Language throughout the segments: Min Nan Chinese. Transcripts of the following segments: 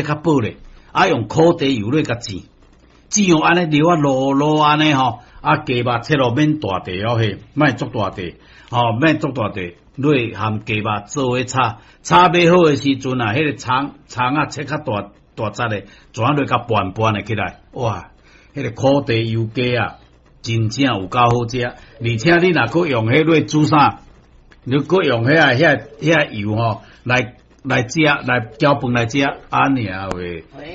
較薄咧，啊用苦茶油咧共煎，煎予按呢流啊漉漉按呢吼，啊雞肉切落免大塊哦嘿，莫足大塊，吼免足大塊，落含雞肉做伙炒，炒欲好的時陣啊，彼個蔥蔥仔切較大大隻的，怎落共拌拌的起來，哇！彼個苦茶油雞啊，真正有夠好食，而且你若閣用彼落煮啥？你閣用遐油吼來食，來攪飯來食，按呢話，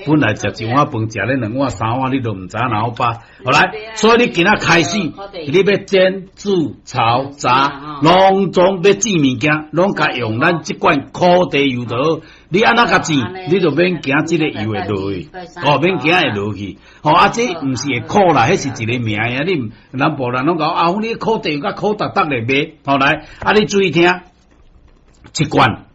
本來食一碗飯，食咧兩碗三碗，你都毋知影哪好飽。好來，所以你今仔開始，你欲煎、煮、炒、炸，攏總欲煎物件，攏共用咱這罐苦茶油就好。你按怎共煎，你就免驚這個油會落去，哦，免驚會落去。吼啊，這毋是會苦啦，彼是一個名啊。你南部人攏講啊，你苦茶油較苦沓沓咧賣。好來，啊，你注意聽，一罐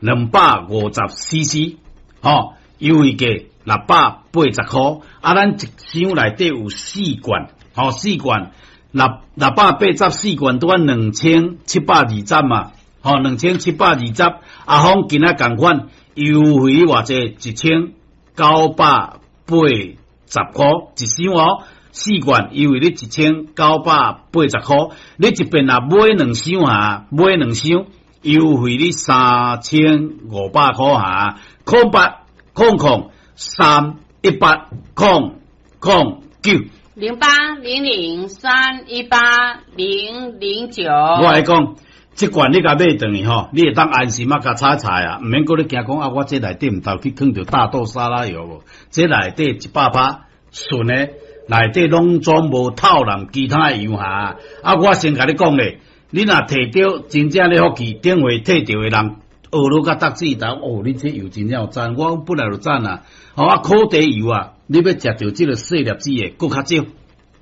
250 CC，吼，優惠價680箍。啊，咱一箱內底有四罐，吼，四罐684罐，拄仔2720嘛，吼，2720。阿峰今仔仝款優惠偌濟？1980箍一箱哦，四罐優惠你1980箍。你一遍若買兩箱啊，買兩箱，優惠你3500箍哈，0800 318 009 0800318009。我來講，這罐你共買轉去吼，你會當安心啊，共炒菜啊，毋免閣咧驚講啊，我這內底毋知去囥著大豆沙拉油無？這內底100%純的，內底攏總無透濫其他的油哈。啊，我先共你講咧。你若提著真正咧福氣，頂回提著的人學落甲逐舌頭，哦，你這油真正有讚，我本來就讚啊。吼啊，苦茶油啊，你欲食著這個細粒子的，閣較少，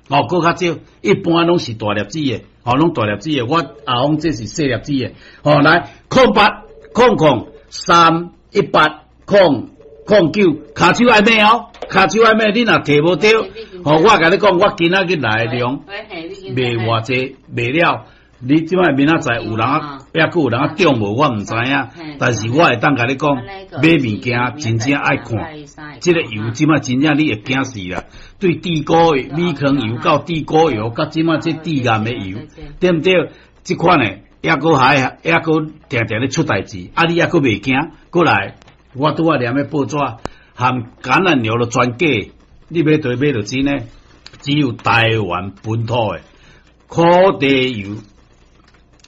哦，閣較少，一般攏是大粒子的，吼，攏大粒子的。我阿峰這是細粒子的，吼，來0800 318 009，跤手愛買哦，跤手愛買，你若提無著，吼，我共你講，我今仔日來的量賣偌濟，賣了。你這擺明仔載有人啊，抑閣有人啊中無？我毋知影。但是我會當共你講，買物件真正愛看，這個油這擺真正你會驚死啦。對地溝米糠油到地溝油，佮這擺這致癌的油，對毋對？這款的抑閣還抑閣定定咧出代誌，啊！你抑閣袂驚？過來，我拄仔念咧報紙含橄欖油都全假，你欲佗買著真的，只有台灣本土的苦茶油。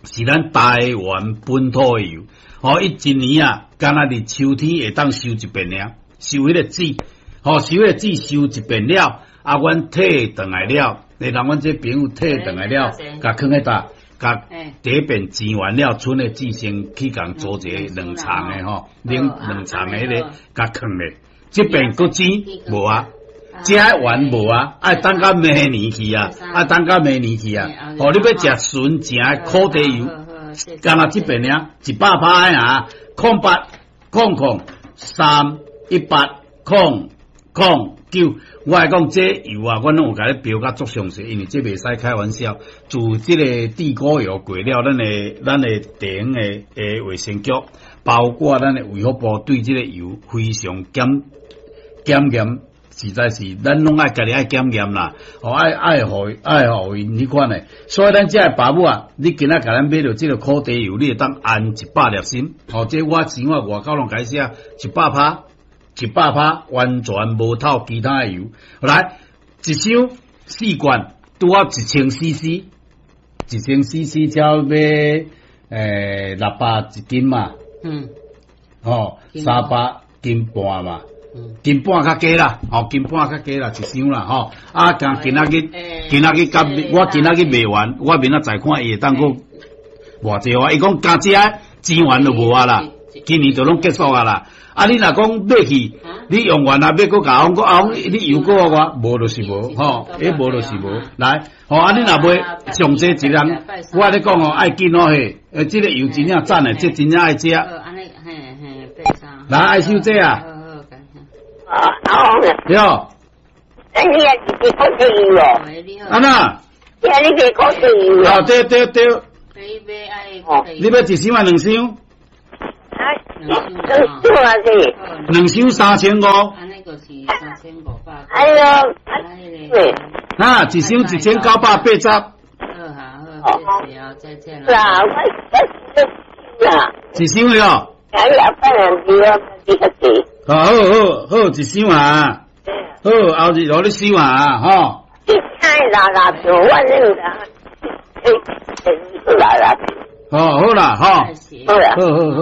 是咱台灣本土的油，吼，伊一年啊，敢若佇秋天會當收一遍爾，收彼個籽，吼，收彼個籽收一遍了，啊，阮退轉來了，你人阮這朋友退轉來了，共囥彼搭，共第一遍煎完了，賰的籽先去共做一个冷藏的吼，冷冷藏的彼個，共囥咧，這遍閣煎無啊？這完無啊？愛等到明年去啊！愛等到明年去啊！吼，你欲食純正的苦茶油，敢若這遍爾100%的啊！0800 318 009，我來講這油啊，我攏有共你標甲足詳細，因為這袂使開玩笑。自這個地溝油過了，咱的地方的衛生局，包括咱的衛福部對這個油非常檢檢驗。實在是，咱攏愛家己愛檢驗啦，吼愛愛予愛予𪜶彼款的，所以咱這个爸母啊，你今仔共咱買著這個苦茶油，你會當安一百粒心，吼，這我生活外口攏共寫一百趴，一百趴完全無透其他的油。來，一箱四罐，拄好1000 CC，1000 CC 才欲600一斤嘛，吼，300斤半嘛。斤半較低啦，吼，斤半較低啦，一箱啦，吼。啊，今今仔日，今仔日甲我今仔日賣完，我明仔載看伊會當閣偌濟話。伊講加這錢完就無啊啦，今年就攏結束啊啦。啊，你若講買去，你用完啊，欲閣共我講啊，你油閣予我，無就是無，吼，彼無就是無。來，吼，啊，你若買上濟一人，我共你講哦，愛緊哦嘿，這個油真正讚的，這真正愛食。來，愛小姐啊。啊，阿峰對。你也是苦茶油哦。按怎？你賣苦茶油啊，對對對。你欲一箱還兩箱？啊，兩箱啊是？兩箱3500。哎喲，對。啊，一箱1980。啦，我啦。一箱喲。哎呀，反正是我比較濟。好好好，一箱啊。好，後日予你收啊，吼。你太拉拉票，我那個，哎，拉拉票。哦，好啦，吼。好啦。好好好。